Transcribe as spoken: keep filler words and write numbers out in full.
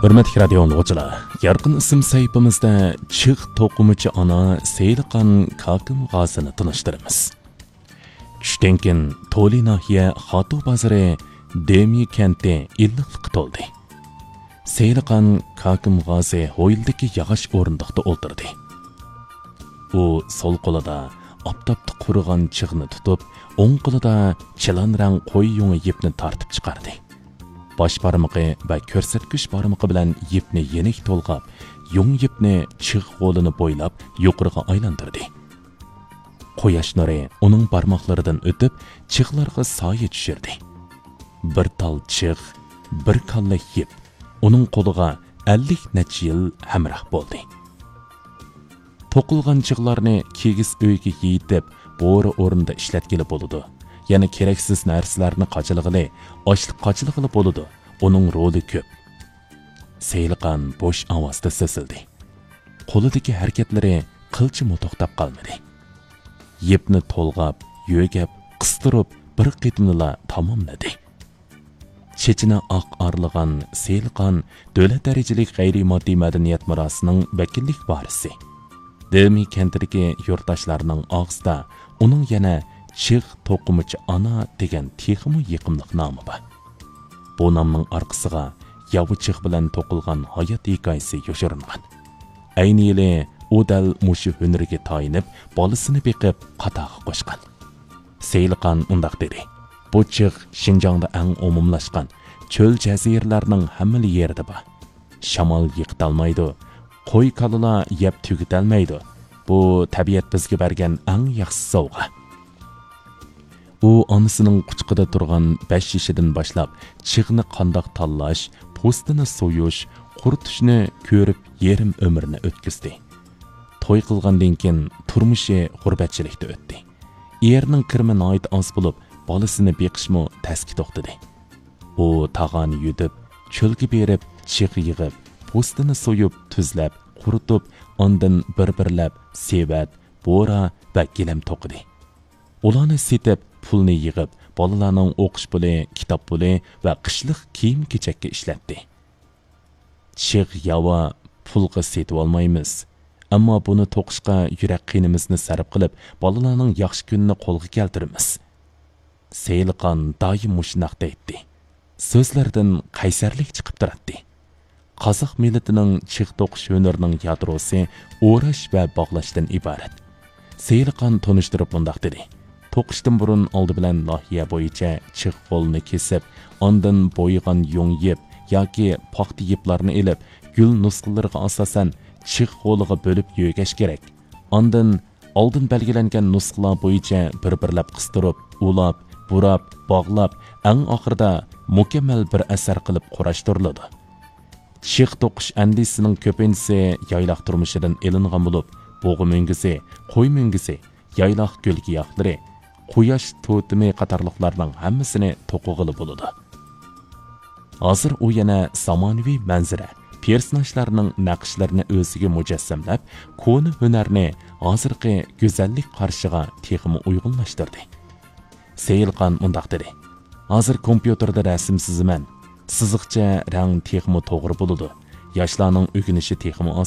ھۆرمەتلىك رادىيو ئاڭلىغۇچىلار، يارقىن ئىسىم سەھىپىمىزدە چىغ توقۇمىچى ئانا سېيىلقان كاكىم غازىنى تونۇشتۇرىمىز. چۈشتىن كېيىن تولى ناھىيە خاتۇ بازىرى دېمى كەنتى ئىللىقلىققا تولدى. سېيىلقان كاكىم غازى ھويلىدىكى ياغاچ ئورۇندۇقتا ئولتۇردى. ئۇ سول قولىدا ئاپتاپتا قۇرۇغان چىغنى تۇتۇپ، ئوڭ قولىدا چىلان رەڭ قوي يۇڭى يىپنى تارتىپ چىقاردى. باش بارمىقى ۋە كۆرسەتكۈچ بارمىقى بىلەن يىپنى يېنىك تولغاپ، يۇڭ يىپنى چىغ غولىنى بويلاپ يۇقىرىغا ئايلاندۇردى. قۇياش نۇرى ئۇنىڭ بارماقلىرىدىن ئۆتۈپ، چىغلارغا سايە چۈشۈردى. بىر تال چىغ، بىر كاللەك يىپ ئۇنىڭ قولىغا ئەللىك نەچچە يىل ھەمراھ بولدى. توقۇلغان چىغلارنى كىگىز ئۆيگە يېيىتىپ، بورا ئورنىدا ئىشلەتكىلى بولىدۇ. يەنە كېرەكسىز نەرسىلەرنى قاچىلىغىلى، ئاشلىق قاچىلىغىلى بولىدۇ. ئۇنىڭ رولى كۆپ. سېيىلقان بوش ئاۋازدا سۆزلىدى. قولىدىكى ھەرىكەتلىرى قىلچىمۇ توختاپ قالمىدى. يىپنى تولغاپ، يۆگەپ، قىستۇرۇپ، بىر قېتىمدىلا تاماملىدى. چېچىنى ئاق ئارىلىغان سېيىلقان دۆلەت دەرىجىلىك غەيرىي ماددىي مەدەنىيەت مىراسىنىڭ ۋەكىللىك ۋارىسى. دېمى كەنتىدىكى يۇرتداشلارنىڭ ئاغزىدا ئۇنىڭ يەنە چىغ توقۇمىچى ئانا دېگەن تېخىمۇ يېقىملىق نامى بار. بۇ نامنىڭ ئارقىسىغا ياۋا چىغ بىلەن توقۇلغان ھايات ھېكايىسى يوشۇرۇنغان. ئەينى يىلى ئۇ دەل مۇشۇ ھۈنىرىگە تايىنىپ، بالىسىنى بېقىپ، قاتارغا قوشقان. سېيىلقان مۇنداق دېدى: بۇ چىغ شىنجاڭدا ئەڭ ئومۇملاشقان، چۆل جەزىرىلەرنىڭ ھەممىلا يېرىدە بار. شامال يىقىتالمايدۇ، قوي كالىلار يەپ تۈگىتەلمەيدۇ. بۇ تەبىئەت بىزگە بەرگەن ئەڭ ياخشى سوۋغا. ئۇ ئانىسىنىڭ قۇچىقىدا تۇرغان بەش يېشىدىن باشلاپ چىغنى قانداق تاللاش، پوستىنى سويۇش، قۇرۇتۇشنى كۆرۈپ يېرىم ئۆمرىنى ئۆتكۈزدى. توي قىلغاندىن كېيىن تۇرمۇشى غۇربەتچىلىكتە ئۆتتى. ئېرىنىڭ كىرىمى ناھايىتى ئاز بولۇپ، بالىسىنى بېقىشمۇ تەسكە توختىدى. ئۇ تاغارنى يۈدۈپ، چۆلگە بېرىپ، چىغ يىغىپ، پوستىنى سويۇپ، تۈزلەپ، قۇرۇتۇپ، ئاندىن بىر-بىرلەپ سېۋەت، بورا ۋە گىلەم توقۇدى. ئۇلارنى سېتىپ، پۇلنى يىغىپ، بالىلارنىڭ ئوقۇش پۇلى، كىتاب پۇلى ۋە قىشلىق كىيىم-كېچەككە ئىشلەتتى. چىغ ياۋا پۇلغا سېتىۋالمايمىز. ئەمما بۇنى توقۇشقا يۈرەك قېنىمىزنى سەرپ قىلىپ، بالىلارنىڭ ياخشى كۈنىنى قولغا كەلتۈرىمىز. سېيىلقان دائىم مۇشۇنداق دەيتتى. سۆزلىرىدىن قەيسەرلىك چىقىپ تۇراتتى. قازاق مىللىتىنىڭ چىغ توقۇش ھۈنىرىنىڭ يادروسى ئوراش ۋە باغلاشتىن ئىبارەت. سېيىلقان تونۇشتۇرۇپ مۇنداق دېدى: توقۇشتىن بۇرۇن ئالدى بىلەن ناھىيە بويىچە چىغ غولىنى كېسىپ، ئاندىن بويىغان يۇڭ يىپ ياكى پاختا يىپلارنى ئېلىپ، گۈل نۇسخىلىرىغا ئاساسەن چىغ غولىغا بۆلۈپ يۆگەش كېرەك. ئاندىن ئالدىن بەلگىلەنگەن نۇسخىلار بويىچە بىر-بىرلەپ قىستۇرۇپ، ئۇلاپ، بۇراپ، باغلاپ، ئەڭ ئاخىرىدا مۇكەممەل بىر ئەسەر قىلىپ قۇراشتۇرۇلىدۇ. چىغ توقۇش ئەندىزىسىنىڭ كۆپىنچىسى يايلاق تۇرمۇشىدىن ئېلىنغان بولۇپ، بۇغا مۈڭگۈزى، قوي مۈڭگۈزى، يايلاق گۈل-گىياھلىرى، قۇياش توتېمى قاتارلىقلارنىڭ ھەممىسىنى توقۇغىلى بولىدۇ. ھازىر ئۇ يەنە زامانىۋى مەنزىرە، پېرسوناژلارنىڭ نەقىشلىرىنى ئۆزىگە مۇجەسسەملەپ، كونا ھۈنەرنى ھازىرقى گۈزەللىك قارىشىغا تېخىمۇ ئۇيغۇنلاشتۇردى. سېيىلقان مۇنداق دېدى: ھازىر كومپيۇتېردا رەسىم سىزىمەن. سىزىقچە رەڭ تېخىمۇ توغرا بولىدۇ. ياشلارنىڭ ئۆگىنىشى تېخىمۇ ئاز.